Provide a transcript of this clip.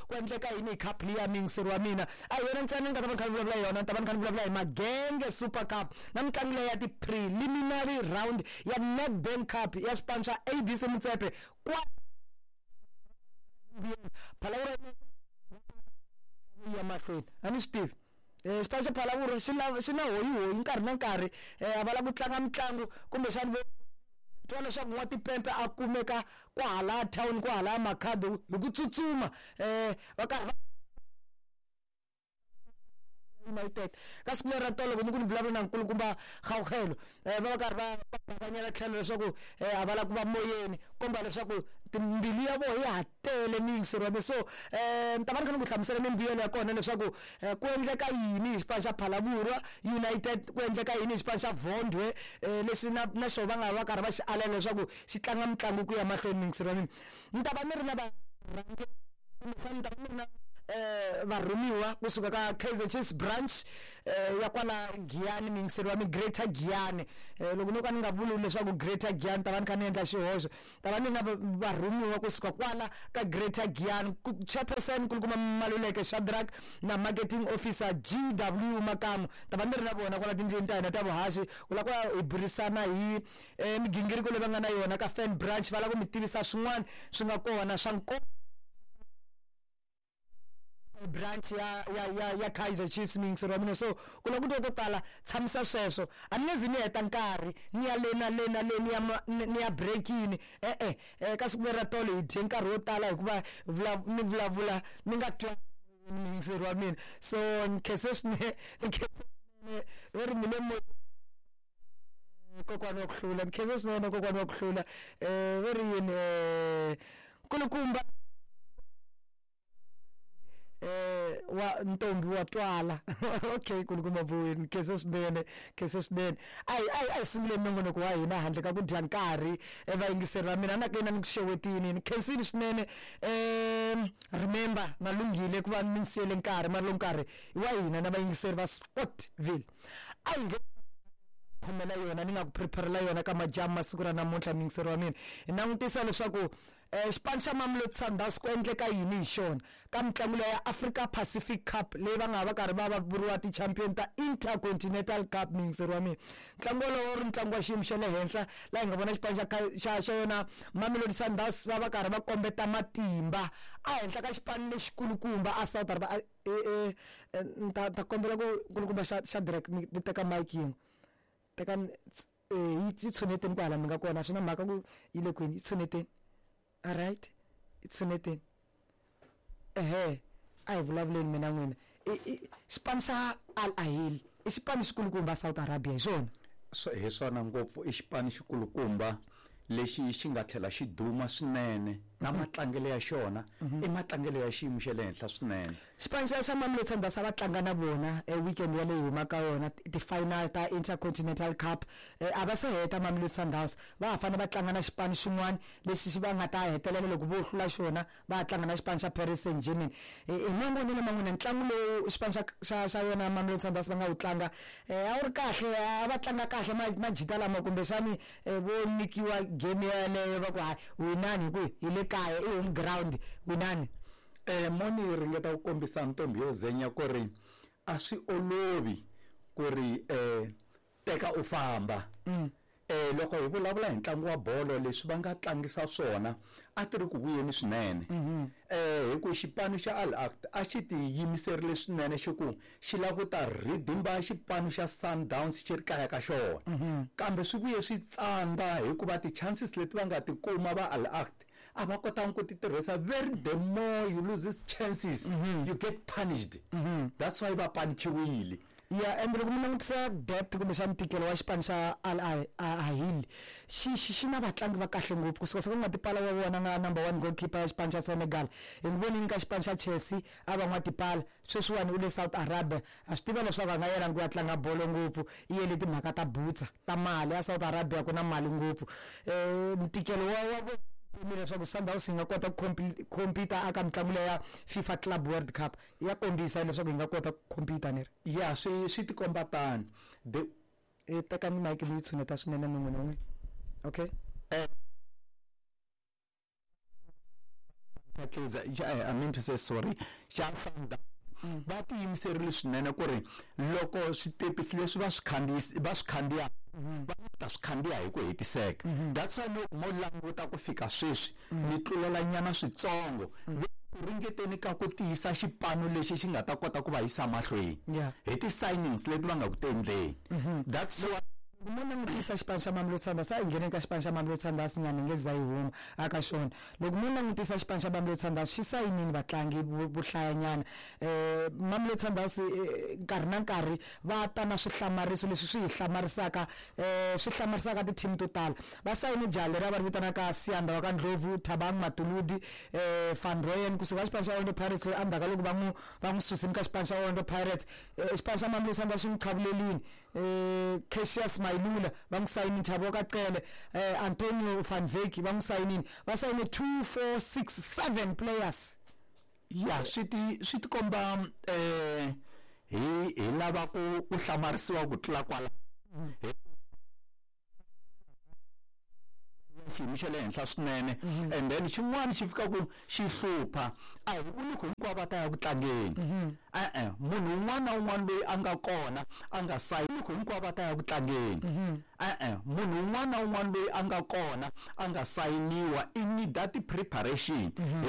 Ku endleka yini hi cup liya, muyingiseri wa mina? A hi yona ntsena ni nga ta va ni kha ni vulavula hi yona, ni ta va ni kha ni vulavula hi Magenge Super Cup na mitlangu leyi ya ti-preliminary round ya Nedbank Cup ya swipano swa ABC Motsepe kwa Phalaborwa ya mahlweni. A ni swi tivi. Xipano xa Phalaborwa xi lava xi na hoyihoyi nkarhi na nkarhi, a va lava ku tlanga mitlangu kumbexana vo twa leswaku n'watimpepe a kumeka kwahalaya town, kwahalaya Makhado hi ku tsutsuma, va karhi va United. Ka siku leri ra tolo loko ni ku ni vulavula na nkulukumba Gauhelo, va va karhi va bakanyela tlhelo leswaku a va lava ku va moyeni, komba leswaku timbilu ya vona ya ha tele muyingiseri wa mina. So ni ta va ni kha ni ku hlamusela mimbuyelo ya kona leswaku ku endleka yini hi xipano xa Phalaborwa United, ku endleka yini hi xipano xa Vondwe, lexi na na xona va nga va karhi va xi alela leswaku xi tlanga mitlangu ku ya mahlweni. Muyingiseri wa mina, ni ta va ni ri na varhangeri kumbexana ni ta va ni ri na varhumiwa kusuka ka Kaizer Chiefs branch ya kwala Giyani, muyingiseri wa mina, Greater Giyani. Loko no ka ni nga vuli leswaku Greater Giyani, ta va ni kha ni endla xihoxo. Ta va ni na varhumiwa kusuka kwala ka Greater Giyani, chairperson Nkulukumba Maluleke Shadrack na marketing officer GW Makamu. Ta va ni ri na vona kwala tindlwini ta hina ta vuhaxi ku lava ku ya hi burisana hi migingiriko leyi va nga na yona ka fan branch. Va lava ku mi tivisa swin'wana swi nga kona swa nkoka branch ya ya ya ya Kaizer Chiefs, muyingiseri wa mina. So ku lava ku twa to tala, tshamisa sweswo. A ni nge zi ni heta nkarhi ni ya le na le na le, ni ya ni ya breakini, e-e. Ka siku leri ra tolo hi dye nkarhi wo tala hikuva ni vulavula ni nga twa, muyingiseri wa mina. So ni khense swinene, ni khense swinene, ve ri mi le moyeni kokwana wa ku hlula. Ni khense swinene kokwana wa ku hlula. Ve ri yini, nkulukumba wa ntombi wa twala. Okay, nkulukumba Mboweni, khense swinene, khense swinene. A hi sunguleni nongonoko wa hina handle ka ku dya nkarhi. Vayingiseri va mina, na ka yina ni ku xewetini, ni khensini swinene. Remember na lunghile ku va mi ni siyele nkarhi, mara lowu nkarhi i wa hina na vayingiseri va Sportville. A hi nge khomela yona ni nga ku preparela yona ka madyambu masiku ra namuntlha, muyingiseri wa mina. Hi langutisa leswaku xipano xa Mamelodi Sundowns ku endleka yini hi xona ka mitlangu leyi ya Africa Pacific Cup leyi va nga va karhi va va vuriwa ti-champion ta Intercontinental Cup, muyingiseri wa mina. Ntlangu wolowo wu ri ntlangu wa xiyimo xa le henhla laha hi nga vona xipano xa xa xa yona Mamelodi Sundowns va va karhi va kombeta matimba a henhla ka xipano lexikulukumba a South Africa. Ni ta kombela ku nkulukumba xa Shadrack mi teka mic yin'we, teka yi tshuneteni kwahala mi nga kona, a swi na mhaka ku yi le kwini, yi tshuneteni. Alright, yi tshuneteni. Ehe, a hi vulavuleni mina n'wina. Xipano xa Al Ahly i xipano xikulukumba South Arabia, hi swona? Hi swona ngopfu, i xipano xikulukumba lexi xi nga tlhela xi duma swinene, na matlangelo ya xona i matlangelo ya xiyimo xa le henhla swinene. Xipano xa xa Mamelodi Sundowns a va tlanga na vona weekend ya leyi humaka yona ti-final ta Intercontinental Cup. A va se heta Mamelodi Sundowns, va ha fanele va tlanga na xipano xin'wana lexi xi va nga ta hetelela loko vo hlula xona va ya tlanga na xipano xa Paris Saint-Germain. Hi mavonelo ma n'wina, ntlangu lowu xipano xa xa xa yona Mamelodi Sundowns va nga wu tlanga a wu ri kahle, a va tlanga kahle majita lama, kumbexani vo nyikiwa game yeleyo va ku hayi winani hi ku hi le kaya, i home ground, winani? Mo ni ringeta ku kombisa ntombi yo zenya ku ri a swi olovi ku ri teka u famba. Loko hi vulavula hi ntlangu wa bolo, leswi va nga tlangisa swona a ti ri ku vuyeni swinene. Hi ku xipano xa Al Ahly a xi tiyimiserile swinene, xi ku xi lava ku ta rhidimba xipano xa Sundowns xi ri kaya ka xona. Kambe swi vuye swi tsandza hikuva ti-chances leti va nga ti kuma va Al Ahly a va kotanga ku ti tirhisa. Very the more you loses chances, you get punished. That's why va panichiwile. Ya, and loko mi langutisa depth kumbexana ntikelo wa xipano xa Al Ahly, xi xi xi na vatlangi va kahle ngopfu kusuka se ku nga tipala wa vona nga number 1 goalkeeper ya xipano xa Senegal. Hi n'wi vonile ka xipano xa Chelsea a va n'watipala, sweswiwani u le South Arabia. A swi tiva leswaku a nga yelangi ku ya tlanga bolo ngopfu, i yele timhaka ta butsa ta mali a South Arabia, ku na mali ngopfu. Ntikelo wa wa vona leswaku Sundowns yi nga kota ku compete aka mitlangu leya ya FIFA Club World Cup, ya kombisa leswaku yi nga kota ku compete ni ri. Ya, swi swi tikomba tano. The Tekani mic mi yi tshuneta swinene mun'we na n'we. Okay. Kaizer, I mean to say sorry, xa Sundowns, va tiyimiserile swinene ku ri loko switepisi leswi va swi khandziyisi va swi khandziya, va ta swi khandziya hi ku hetiseka. That's why loko mo languta ku fika sweswi, ni tlulela nyana switsongo ku ringeteni ka ku tiyisa xipano lexi xi nga ta kota ku va yisa mahlweni hi ti-signings leti va nga ku tendleni. That's why Mo langutisa xipano xa Mamelodi Sundowns, a hi ngheneni ka xipano xa Mamelodi Sundowns nyana, hi nge za yi huma aka xona. Loko mo langutisa xipano xa Mamelodi Sundowns, xi sayinini vatlangi vo hlayanyana. Mamelodi Sundowns nkarhi na nkarhi va ta na swihlamariso leswi swi hi hlamarisaka, swi hlamarisaka ti-team to tala. Va sayine jaha leri a va ri vitanaka Siyanda wa ka Ndlovu, Thabang Matuludi, Van Rooyen kusuka xipano xa Orlando Pirates, loyi endzhaku ka loko va n'wi susini ka xipano xa Orlando Pirates, xipano xa Mamelodi Sundowns xi n'wi qhavulelini. Cassius Mailula va n'wi sayinini, Thabo Kacele, Antonio van Wyk va n'wi sayinini. Va sayine 2 4 6 7 players. Ya, swi ti komba hi lava ku hlamarisiwa ku tlula kwala hi xiyimo xa le henhla swinene. And then xin'wana xi fika ku xi hlupha, a hi vuli ku hinkwavo va ta ya ku tlangeni. E-e, munhu un'wana na un'wana loyi a nga kona a nga sayini ku hinkwavo va ta ya ku tlangeni. E-e, munhu un'wana na un'wana loyi a nga kona a nga sayiniwa i need ti-preparation.